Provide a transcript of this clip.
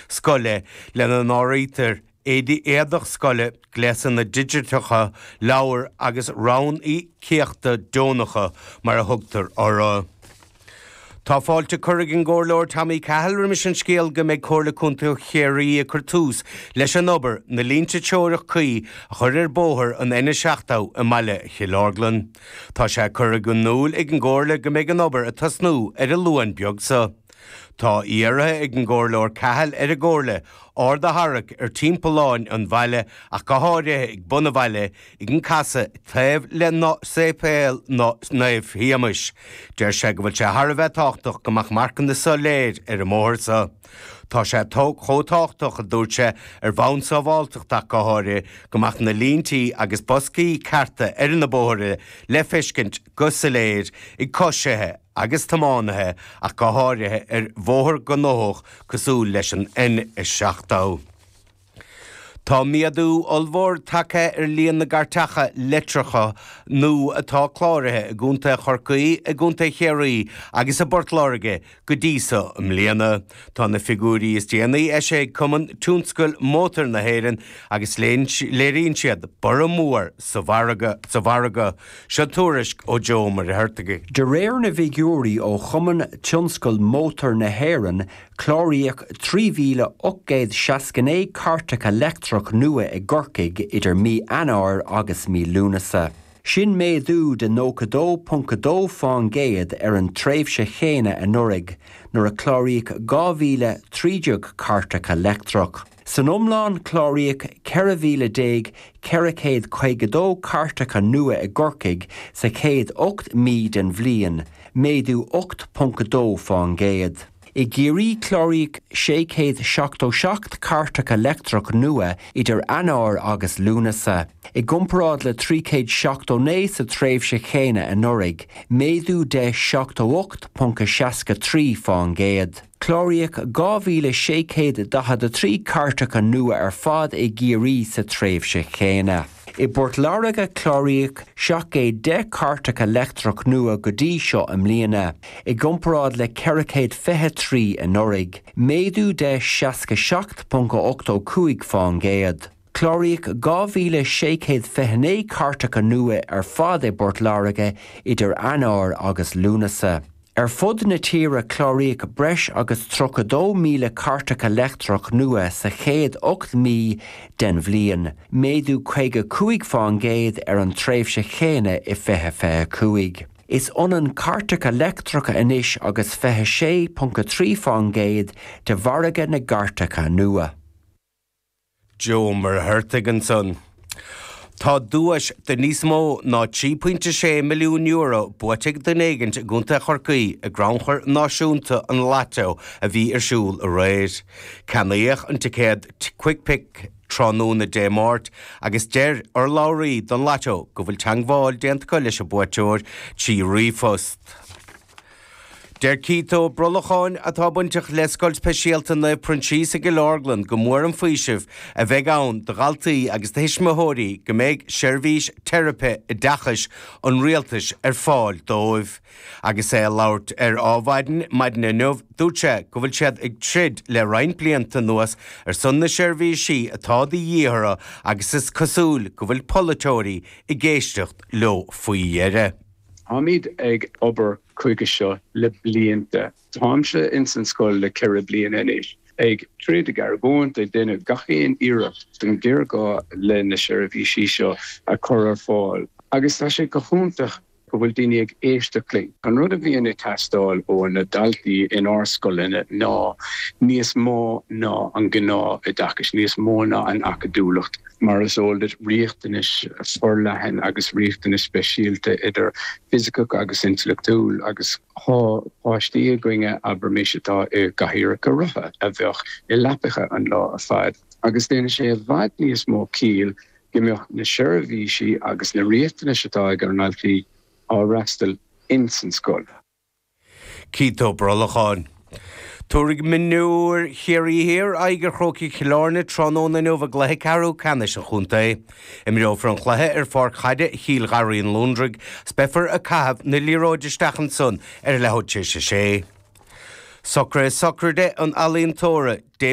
Scoile, lena n-áirítear éadaí éadach scoile, gléasanna digiteacha, leabhair agus ranníocaíochtaí deonacha mar a thugtar orthu. Tá fáilte curtha ag an gComhairleoir Tommy Cahill roimis an scéal go mbeidh Comhairle Contae Chiarraí ag cur tús leis an obair na línte teorach cuí a chur ar bóthar an N70 i mbaile Chill Orglan. Tá sé curtha in iúl ag an gComhairle go mbeidh an obair ag tosnú ar an Luan beag seo. Tá iarrtha ag an gComhairleoir Cahill ar an gComhairle aird a tharrac ar timpealláin an bhaile ach go háirithe ag bun an bhaile ag an casadh taobh le Séipéal Naomh Shéamais. Deir sé go bhfuil sé thar a bheith tábhachtach go mbeadh marcanna soiléir ar an mbóthar seo. Tá sé chomh tábhachtach, a dúirt sé, ar bhonn sábháilteachta ach go háirithe, go mbeadh na líntí agus boscaí cearta ar na bóithre le feiscint go soiléir ag coisithe agus tiománaithe ach go háirithe ar bhóthar gnóthach cosúil leis an N70. Tá méadú ollmhór tagtha ar líon na gcairteacha leictreacha nua atá cláraithe i gContae Chorcaí, i gContae Chiarraí agus i bPort Láirge go dtí so i mbliana. Tá na figiúirí is déanaí eisithe ag Cumann Tionscail Mótair na hÉireann agus léiríonn siad borradh mór sa mhargadh. Seo tuairisc ó Joe Ó Muircheartaigh. De réir na bhfigiúirí ó Chumann Tionscail Mótair na hÉireann, cláraíodh 3,869 cairteacha leictreach nua i gCorcaigh idir mí Eanáir agus mí Lúnasa. Sin méadú de 92.2 fán gcéad ar an tréimhse chéanna anuraidh, nuair a cláraíodh 2,013 cairteacha leictreach. San iomlán, cláraíodh 14,452 cairteacha nua i gCorcaigh sa chéad 8 mí den bhliain, méadú 8.2 fán gcéad. I gCiarraí, cláraíodh 677 cairteacha leictreach nua idir Eanáir agus Lúnasa, i gcomparáid le 379 sa tréimhse chéanna anuraidh, méadú de 78.63 fán gcéad. Cláraíodh 2,643 cairteacha nua ar fad i gCiarraí sa tréimhse chéanna. I bPort Láirge, cláraíodh 710 cairteacha leictreach nua go dtí seo i mbliana, i gcomparáid le 423 anuraidh, méadú de 67.85 fán gcéad. Cláraíodh 2,629 cairteacha nua ar fad i bPort Láirge idir Eanáir agus Lúnasa. Ar fud na tíre cláraíodh breis agus 32,000 cairteacha leictreach nua sa chéad 8 mí den bhliain, méadú 55 fán gcéad ar an tréimhse chéanna i 2025. Is ionann cairteacha leictreacha anois agus 26.3 fán gcéad de mhargadh na gcairteacha nua. Joe Ó Muircheartaigh ansan. Tá duais de níos mó ná €3.6 milliún buaite ag duine éigint i gContae Chorcaí i gCrannchur Náisiúnta an Lató a bhí ar siúl aréir. Ceannaíodh an ticéad Quickpick tráthnóna Dé Máirt agus deir urlabhraí don Lató go bhfuil teagmháil déanta acu leis an buaiteoir trí ríomhphost. Deir Keith Ó Brolacháin, atá bainteach le Scoil Speisialta Naomh Proinsias i gCill Orglan, go mór an faoiseamh a bheidh ann do dhaltaí agus do thuismitheoirí go mbeidh seirbhís teiripe oideachais an rialtais ar fáil dóibh. Agus é ag labhairt ar Adhmhaidin maidin inniu, dúirt sé go bhfuil siad ag troid le roinnt blianta anuas ar son na seirbhísí atá de dhíth orthu agus is cosúil go bhfuil polaiteoirí ag éisteacht leo faoi dheireadh. Táimid ag obair chuige seo le blianta. Táimse ins an scoil le 4 bliana anois, ag troid, ag argóint, ag déanamh gach aon iarracht don ghéarghá le na seirbhísí seo a chur ar fáil agus tá sé go hiontach go bhfuil daoine ag éisteacht linn. An rud a bhíonn ag teastáil ó na daltaí inár scoileanna ná níos mó ná an gnáth-oideachas, níos mó ná an acadúlacht. Mar is eol duit, riachtanais forleathan agus riachtanais speisialta idir fisiceach agus intleachtúil agus tá páistí againne, abraimis, atá i gcathaoireacha rotha, a bheadh i leapacha an lá ar fad agus déanann sé i bhfad níos mó ciall go mbeadh na seirbhísí agus na riachtanais atá ag ár ndaltaí á fhreastal ins an scoil. Keith Ó Brolacháin. Tabharfaidh mionúir Chiarraí Thiar aghaidh ar Chrócaigh Chill Airne tráthnóna inniu i gcluiche ceathrú ceannais an chontae. Imreofar an cluiche ar pháirc chaide Chill Gharraí an Lúndraigh 's beifear ag caitheamh na liathróide isteach ansan ar a leathuair tar éis a sé. Socruithe sochraide an ealaíontóra, David.